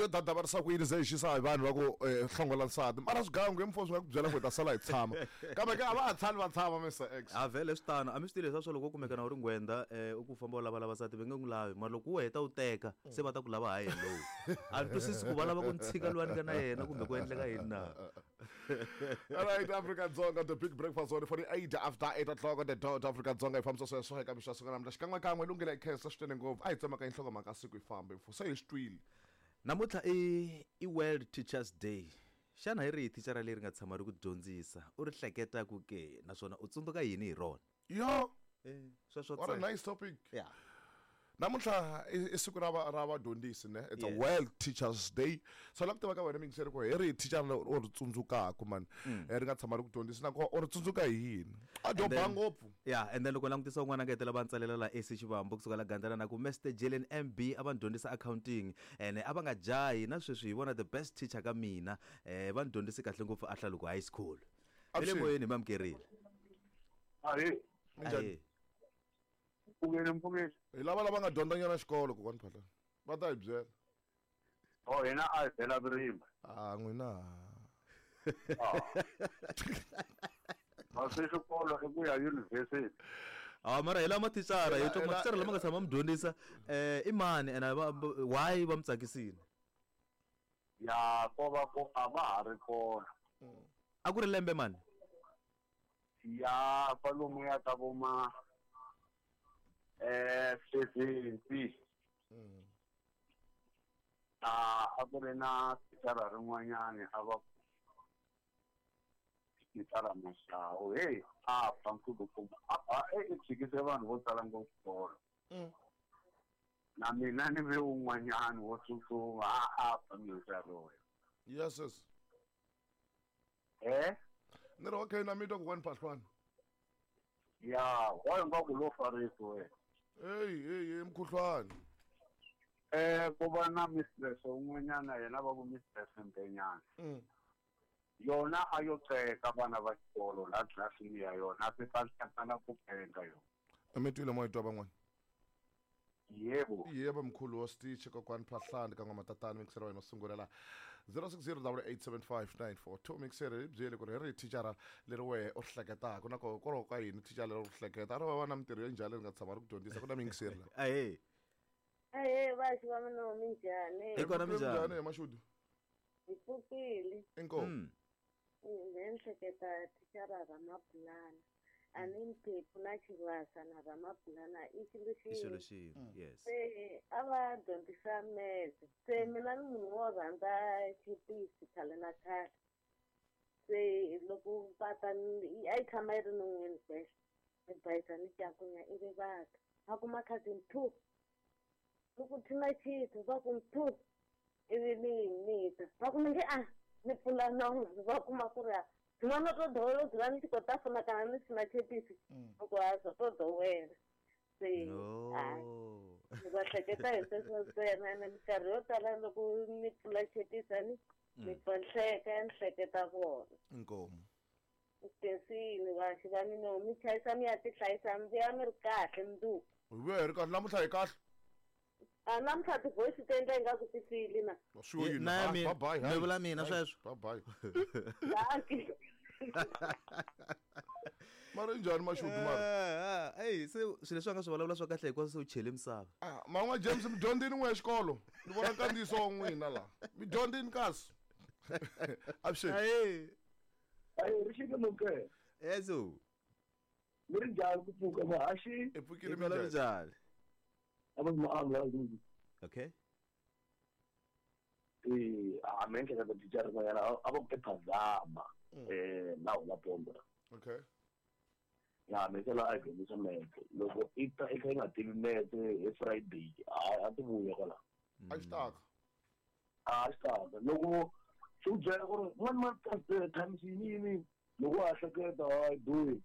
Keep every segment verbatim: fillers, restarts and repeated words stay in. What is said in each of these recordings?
yo dadavarisa ku yini ze hi xisa hi vanhu va ku eh, hlongola nsati mara swigangu hi mfo swi nga ku byela ku hi ta sala hi tshama kambe ke a va ha tshami va tshama Mister X a vhele swi tano a mi swi tivi leswa swa loko u kumeka na u ri nghwenda um u ku famba u lava lavasati va nge n'wi lavi mara loko u heta u teka se va ta ku lava ha yena lowu a ni twisisi ku va lava ku ni tshika luwani ka na yena kumbe ku endleka yini na. Alright, Afrika Dzonga, the big breakfast on forty-eight after eight o'clock on the dot. Afrika Dzonga hi fambisa sweswo eka mixo siku namuntlha xikan'wekan'we lunghela hi khensa swinene ngopfu a hi tsemaka nhlokomhaka siku hi fambe mfo se hi swi twile. Namuntlha i i World Teachers Day. Xana hi rihi thicara leri nga tshama ri ku dyondzisa u ri hleketaku ke naswona u tsundzuka yini hi rona? Yo, eh sweswo what a nice topic. Yeah. Namuntlha i siku ra ra vadyondzisi ne it's yes. a World Teachers Day. So la ku tiva ka wena mingiseri ku hi rihi thicara leri u ri tsundzukaku man ri nga tshama ri ku dyondzisa na ku u ri tsundzuka hi yini a dyo ba ngopfu. Yeah, and then loko langutisa un'wana nga hetela va ntsalela la A C Xivambo kusuka la Gandlana na ku Mister Jelen M B a va ni dyondzisa accounting and a va nga jahi na sweswi hi vona the best teacher ka mina eh va ni dyondzise kahle ngopfu a Hlaluko High School. Le moyeni mamkerile. Ahe. Minjhani? Mpfukeni mpfukeni. Hi lava lava nga dyondzanyana xikolo kokwani Phahla. Va ta hi byela. Oh hina a hi byela vurimi. Ah n'wina. Ah se xikolo i ku ya university. Ah mara hi lama thicara hi twa mathicara lama nga tshama mi dyondzisa eh i mani and why va mi tsakisile? Ya ko va ko a va ha ri kona. A ku ri lembe mani? Ya kwalomu ya ka vo ma eh seventy. Mm. Ah a ku ri na thicara rin'wanyani a va thicara Mashawu hey a fa nkulukumba a ba e tshikise vanhu vo tala ngopfu xikolo. Na mina ni ve un'wanyani wo tsutsuma a a fa minkarhi. Yes yes. Eh? Ni ri okay na mi twa kokwani Phahlwana. Ya, wa nga ku lo farisi we. Hey hey hey mkhuhlwani. Eh ku va na mistress un'wanyana yena va ku mistress Mbenyana. Mm. Yona a yo teka vana va xikolo la tlilasini ya yona se ta hlangana ku penga yona. Mi twile mo hi twa van'wana? Yebo. Yebo mkhulu wa Stitch kokwani Phahlani ka n'wa tatana mixer wa yena sungula la zero six zero eight eight seven five nine four two mixer hi byele ku ri hi ri thicara leri wehe u ri hleketaka na ko kwalaho ka yini thicara leri u ri hleketa a ri va va na mintirho ya njhani leri nga tshama ri ku dyondzisa ku na mixer la. Ahee. Ahee vaxi va mina minjhani? Hi kona minjhani? Hi mashudu. Hi pfukile. Inkomu. Ni hleketa thicara ra Mapulana. A ni Mphephu na Xivasa na Ramapulana i xilo xin'we. I xilo xin'we, yes. Se a va dyondzisa metse. Se mina ni munhu wo rhandza chipisi khale na khale. Se loko va ta a yi tshama yi ri non'wini sweswo ni bayisa ni cakunya ivi va ta va kuma khadi mphu loko thina chithu va ku mphu ivi ni mita va ku mi nge a ni pfula nomu va kuma ku ri a N'wana to dowela dzula ni tshi khou ṱafuna kana ni sina chepisi loko a zwo to dowela se No. ni va hleketa hi sweswo ntsena ene minkarhi yo tala loko ni pfula chepisi ni ni pfa ni hleka ni hleketa vona. Inkomu. Tinsini vaxi va mina mi chayisa mi ya tihlayisa mi vuya mi ri kahle mundzuku. Hi vuya hi ri kahle namuntlha hi kahle. A namuntlha ti-voice ti endla ingaku ti file na. Swi yini? Na mina Bye bye. mi vula mina sweswo. Bye bye. Dankie. Mara njhani mashudu mara? Eh, se swilo leswi a nga swi vulavula swa kahle hikwaswo se u chele misava. Ah, man'wa James mi dyondzini n'we xikolo. Ni vona nkandziyiso wa n'wina la. Mi dyondzini kasi. Avuxeni. Ahee. Ayi ri xike muke. Yeso. Mi ri njhani ku pfuka muhaxi? Hi pfukile Hi kona minjhani? minjhani? A va ma amla. Okay. Eh, a me ehleketa thicara rin'wanyana a va ku i Phazama eh na hula pomba. Okay. Ya me sela a dyondzisa metse loko i ta i kha i nga tivi metse hi Friday a a ti vuya kwala. A xi taka. A xi taka loko xi ku byela ku ri one month times yini yini loko wa hleketa hayi doyi.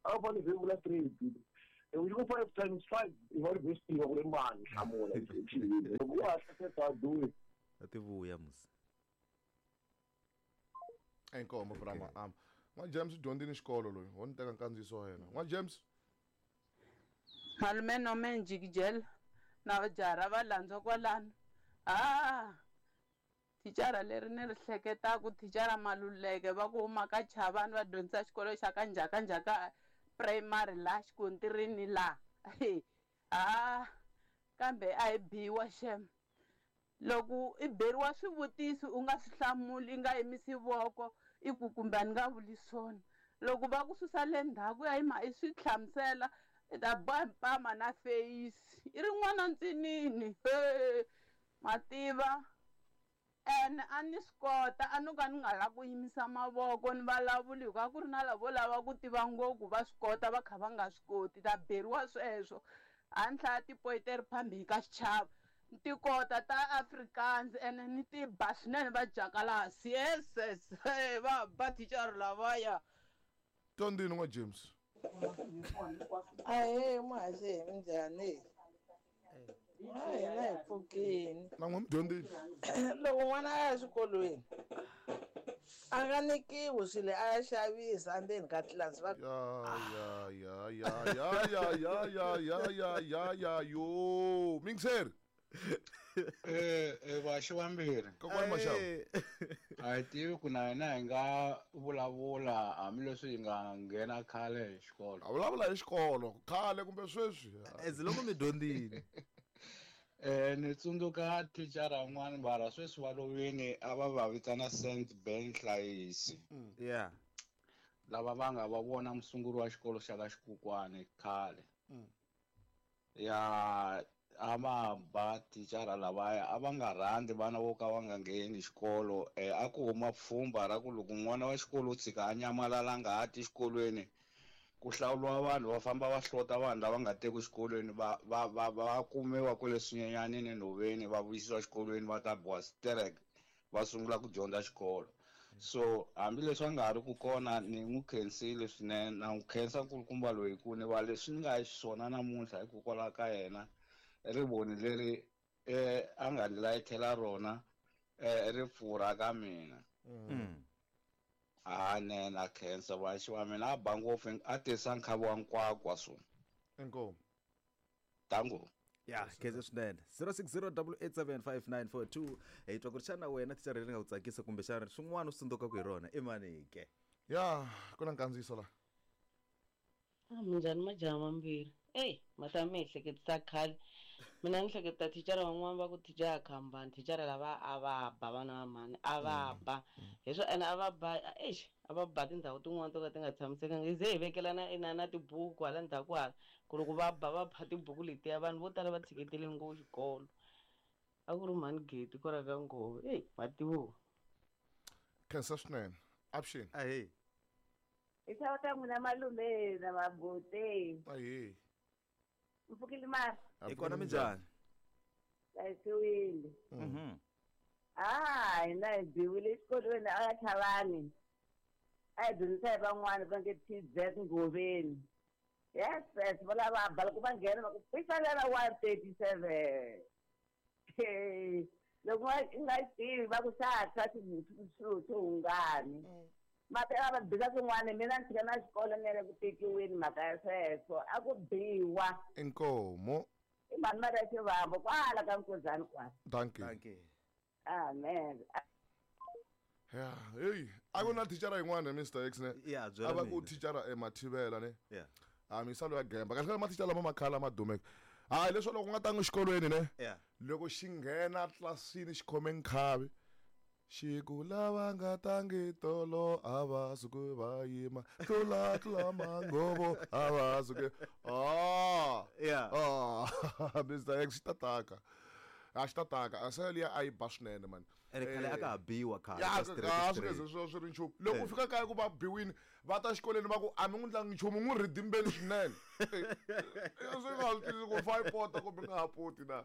A va ni vula three loko ku five times five i va ri best tiva ku ri mani hlamula loko wa hleketa doyi. A ti vuya musi. Inkomu brama am. N'wa James dyondzini xikolo loyi ho ni teka nkandziyiso wa yena. N'wa James. Malume no me njikijela na jara va landzwa kwalano Ah thicara leri ni ri hleketaku thicara Maluleke va ku huma ka Chavani va dyondzisa xikolo xa ka Njhaka Njhaka primary laha xikontirini laha. Ah kambe a hi biwa xem. Loko i beriwa swivutiso u nga swi hlamuli i nga yimisi voko i ku kumbe a ni nga vuli swona. Loko va ku susa le ndzhaku ya yima i swi hlamusela i ta boha mpama na feyisi i ri n'wana ntsinini mativa ene a ni swi kota a no ka ni nga lavi ku yimisa mavoko ni vulavula hikuva a ku ri na lavo lava ku tiva ngopfu va swi kota va kha va nga swi koti ta beriwa sweswo a ni hlaya tipoyiteri phambili ka xichava ni ti kota ta Afrikaans ene ni ti ba swinene va jakalasi yes yes va ba thicara lavaya. Tondini n'wa James. Ahee muhaxi minjhani? A hina hi pfukini. Na n'wi mudyondzisi. Loko n'wana a ya exikolweni a nga nyikiwi swilo a ya xavisa endzeni ka tlilasi va ya ya ya ya ya ya ya ya ya ya ya yo mingiseri. Eh eh vaxi vambirhi. Kokwani Maxava. A hi tivi ku na hina hi nga vulavula hambileswi hi nga nghena khale hi xikolo. A vulavula hi xikolo khale kumbe sweswi. As loko mi dyondzile. Eh ni tsundzuka thicara un'wana mara sweswi va lovini a va va vitana Saint Ben Hlayisi. Yeah. Lava va nga va vona musunguri wa xikolo xa ka Xikukwani khale. Ya a va ba thicara lavaya a va nga rhandzi vana vo ka va nga ngheni xikolo eh a ku huma pfhumba ra ku loko n'wana wa xikolo u tshika a nyamalala nga ha ti xikolweni ku hlawuriwa vanhu va famba va hlota vanhu lava nga teki xikolweni va va va va kumiwa kwale swinyenyanini nhoveni va vuyisiwa xikolweni va ta biwa sterek va sungula ku dyondza xikolo. So hambileswi a nga ha ri ku kona ni n'wi khensile swinene na n'wi khensa nkulukumba loyi ku ni va leswi ni nga xiswona namuntlha hikokwalaho ka yena rivoni leri eh a nga ni layithela rona eh ri pfurha ka mina. A ne na khensa vaxi wa mina a ba ngopfu a tisa nkhavi wa nkwakwa so. Inkomu. Tango. Ya khensa swinene. zero six zero double eight seven five nine four two. Hi twa ku ri xana wena thicara leri nga ku tsakisa kumbe xana swin'wana u swi tsundzukaku hi rona i mani ke? Ya ku na nkandziyiso la. A minjhani majaha mambirhi? Ey mata mi ehleketisa khale. Mina ni hleketa thicara van'wana va ku thicara khambani thicara lava a va ba vana va mhani a va ba hi swo ene a va ba exi a va ba tindhawu tin'wana to ka ti nga tshamisekanga hi ze hi vekelana ina na tibuku hala ndzhaku hala ku loko va ba va pha tibuku letiya vanhu vo tala va tshiketele ngopfu xikolo a ku ri mhani Geti kwala ka Ngove eyi mativo. Khensa swinene. Avuxeni. Ahee. Hi xava ta n'wina malume na mabuti. Ahee. Mpfukile mara. Hi kona minjhani? Hlayisiwile. Mhm. Ah, hina hi biwile exikolweni a Chavani. A hi dyondzisa hi van'wana va nge T Z Ngoveni. Yes, yes, va lava ba loko va nghena va ku pisalela one thirty seven. Loko u nga tivi va ku xa tshwa swilo swo hungani. Mati a va bisa swin'wana mina ni tshika na xikolo ni ya le ku tekiweni mhaka ya sweswo a ku biwa. Inkomo. I mhani Maria Xivambo kwala ka Nkuzani kwala. Dankie. Dankie. Amen. Ya, hey, a ku na thicara yin'wana Mister X ne. Ya, A byela va ku mina. thicara eMathivela ne. Yeah. A misalo ya gemba. Kahle kahle mathicara lama makhala ma dumeke. Hayi leswi loko u nga tangi xikolweni ne. Yeah. Loko xi nghena tlilasini xi khome nkhavi xi ku lava nga tangi tolo a va suki va yima tlula tlula manghovo a va suki ah Yeah. ah Mister X xi ta taka a xi ta taka a se liya a yi ba swinene man. Ene khale a ka ha biwa khale Ya ka ka straight swi straight. nge ze swi swi ri nchumu loko u fika kaya ku va biwini va ta xikolweni va ku a mi n'wi ndlangi nchumu n'wi rhidimbeni swinene swi nga swi twisisi ku fa yi pota kumbe nga ha poti na.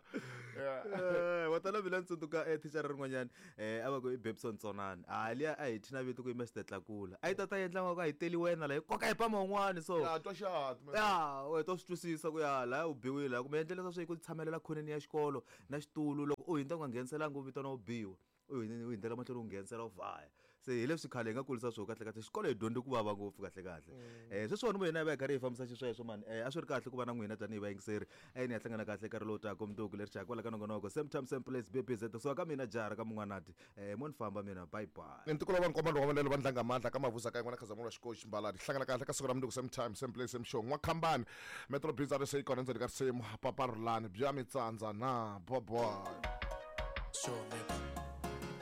Eh wa tala mina ni tsundzuka eh thicara rin'wanyana eh a va ku i Babson Tsonani a liya a hi thina vito ku i Mister Tlakula a yi ta ta endla nga ku a hi teli wena la hi koka hi pama un'wana so Ya twa xihati man. Ya we to swi twisisa ku ya laya u biwile la kumbe endlela swa ku tshamelela khoneni ya xikolo na xitulu loko u hindza u nga ngheniselanga u vitana u biwa u u hindlela mahlweni u nghenisela u vhaya Se hi leswi khale hi nga kulisa swo kahle kahle xikolo hi dyondze ku vava ngopfu kahle kahle. Eh sweswiwani mo hina hi va hi karhi hi fambisa xisweswo mani. Eh a swi ri kahle ku va na n'wina tanihi vayingiseri. Eh ni ya hlangana kahle nkarhi lowu taka mundzuku leri xaka kwala ka nongonoko same time same place B B Z. So ka mina jara ka mun'wanati. Eh mo ni famba mina bye bye. Ni ntikolo wa nkomba lowu wa lelo vandlanga mandla ka mavuza ka yin'wana khazamulo xikoxi mbaladi hlangana kahle ka siku ra mundzuku same time same place same show n'wakhambani metro biz a se yi kona ndzeni ka risimu papa rulani bya mitsandza na boboy Sure, man.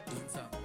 Dinsa.